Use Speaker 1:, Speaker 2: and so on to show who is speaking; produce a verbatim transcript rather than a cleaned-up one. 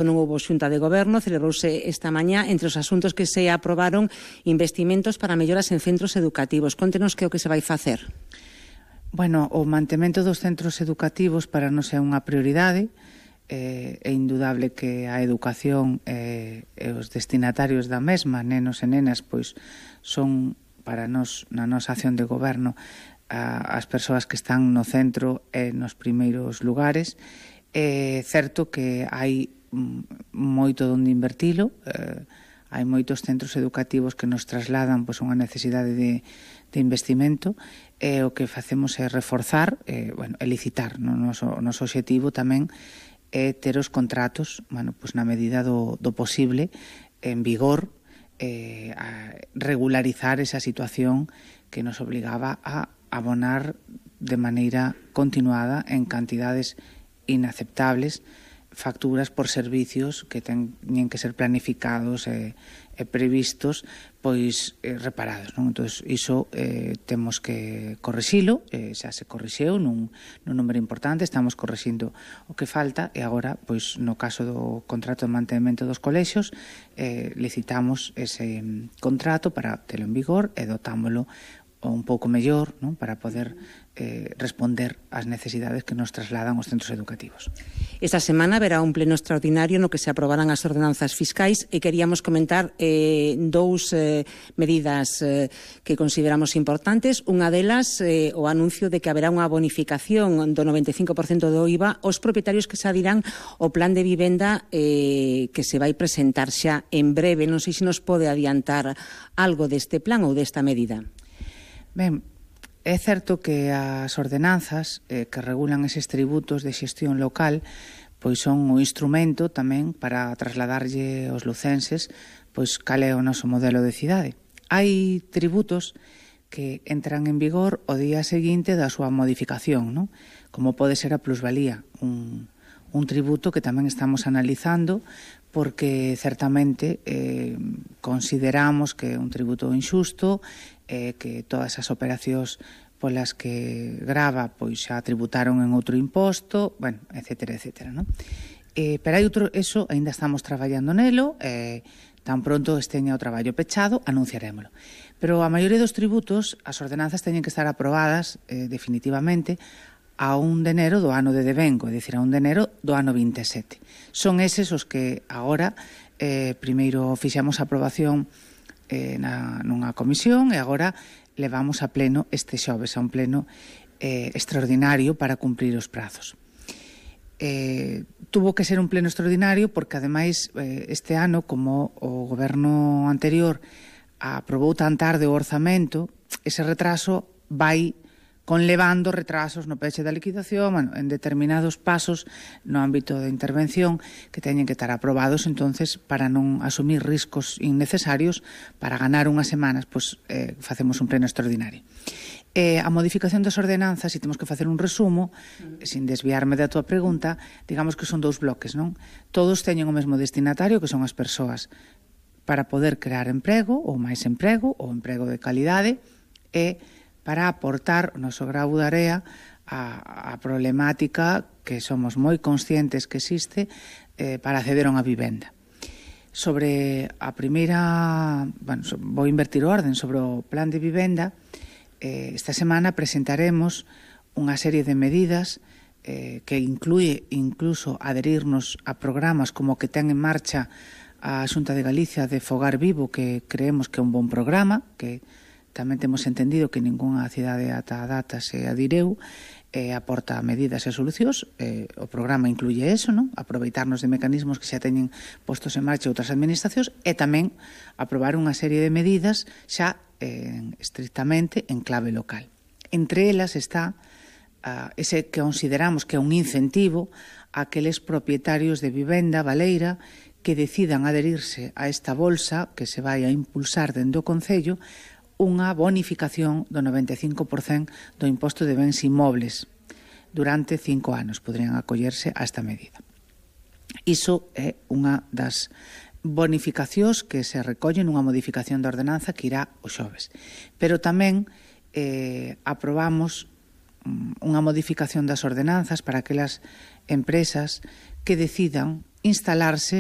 Speaker 1: Non houve xunta de goberno, celebrouse esta mañá. Entre os asuntos que se aprobaron, investimentos para melloras en centros educativos. Contenos que é o que se vai facer.
Speaker 2: Bueno, o mantemento dos centros educativos para nós é unha prioridade. Eh, é indudable que a educación eh, e os destinatarios da mesma, nenos e nenas, pois son para nós, na nosa acción de goberno, a, as persoas que están no centro e nos primeiros lugares. É certo que hai moito onde invertilo, eh, hai moitos centros educativos que nos trasladan pois, unha necesidade de, de investimento, e o que facemos é reforzar, eh, bueno, e licitar. No noso, o noso objetivo tamén é ter os contratos, bueno, pois, na medida do, do posible, en vigor, eh, a regularizar esa situación que nos obligaba a abonar de maneira continuada en cantidades inaceptables facturas por servicios que teñen que ser planificados e, e previstos, pois eh, reparados, non? Entón, iso eh, temos que corrixilo, eh, xa se corrixeu nun, nun número importante, estamos corrixindo o que falta, e agora, pois, no caso do contrato de mantemento dos colexios, eh, licitamos ese contrato para telo en vigor e dotámolo un pouco mellor, non? Para poder eh, responder ás necesidades que nos trasladan os centros educativos.
Speaker 1: Esta semana verá un pleno extraordinario no que se aprobarán as ordenanzas fiscais, e queríamos comentar eh, dous eh, medidas eh, que consideramos importantes. Unha delas, eh, o anuncio de que haberá unha bonificación do noventa e cinco por cento do I V A aos propietarios que se adirán ao plan de vivenda eh, que se vai presentar xa en breve. Non sei se nos pode adiantar algo deste plan ou desta medida.
Speaker 2: Ben, é certo que as ordenanzas eh, que regulan eses tributos de xestión local pois son un instrumento tamén para trasladarlle aos lucenses pois cal é o noso modelo de cidade. Hai tributos que entran en vigor o día seguinte da súa modificación, non? Como pode ser a plusvalía, un, un tributo que tamén estamos analizando porque certamente eh, consideramos que é un tributo injusto, eh, que todas as operacións polas que grava pois xa tributaron en outro imposto, bueno, etcétera, etcétera, non? Eh, pero hai outro, eso, aínda estamos traballando nelo, eh, tan pronto esteña o traballo pechado, anunciarémolo. Pero a maioría dos tributos, as ordenanzas teñen que estar aprobadas eh, definitivamente a un de enero do ano de devengo, é dicir, a un de enero do ano vinte e sete. Son eses os que agora, eh, primeiro fixamos a aprobación eh, na, nunha comisión, e agora levamos a pleno este xoves, a un pleno eh, extraordinario para cumprir os prazos. Eh, tuvo que ser un pleno extraordinario porque, ademais, eh, este ano, como o goberno anterior aprobou tan tarde o orzamento, ese retraso vai conlevando retrasos no peche da liquidación, bueno, en determinados pasos no ámbito de intervención que teñen que estar aprobados, entonces, para non asumir riscos innecesarios, para ganar unhas semanas, pois, eh, facemos un pleno extraordinario. Eh, a modificación das ordenanzas, se temos que facer un resumo, mm. sin desviarme da tua pregunta, digamos que son dous bloques, non? Todos teñen o mesmo destinatario, que son as persoas, para poder crear emprego, ou máis emprego, ou emprego de calidade, e para aportar o noso grau de area a, a problemática que somos moi conscientes que existe eh, para acceder a unha vivenda. Sobre a primeira, bueno, vou invertir o orden, sobre o plan de vivenda, eh, esta semana presentaremos unha serie de medidas eh, que inclúe incluso adherirnos a programas como o que ten en marcha a Xunta de Galicia de Fogar Vivo, que creemos que é un bon programa, que tamén temos entendido que ningunha cidade ata a data se adireu, e aporta medidas e solucións. Eh, o programa incluye eso, non? Aproveitarnos de mecanismos que xa teñen postos en marcha outras administracións, e tamén aprobar unha serie de medidas xa eh, estrictamente en clave local. Entre elas está uh, ese que consideramos que é un incentivo a aqueles propietarios de vivenda baleira que decidan adherirse a esta bolsa que se vai a impulsar dende o Concello, unha bonificación do noventa e cinco por cento do imposto de bens inmobles. Durante cinco anos poderían acollerse a esta medida. Iso é unha das bonificacións que se recollen nunha modificación da ordenanza que irá o xoves. Pero tamén eh, aprobamos unha modificación das ordenanzas para aquelas empresas que decidan instalarse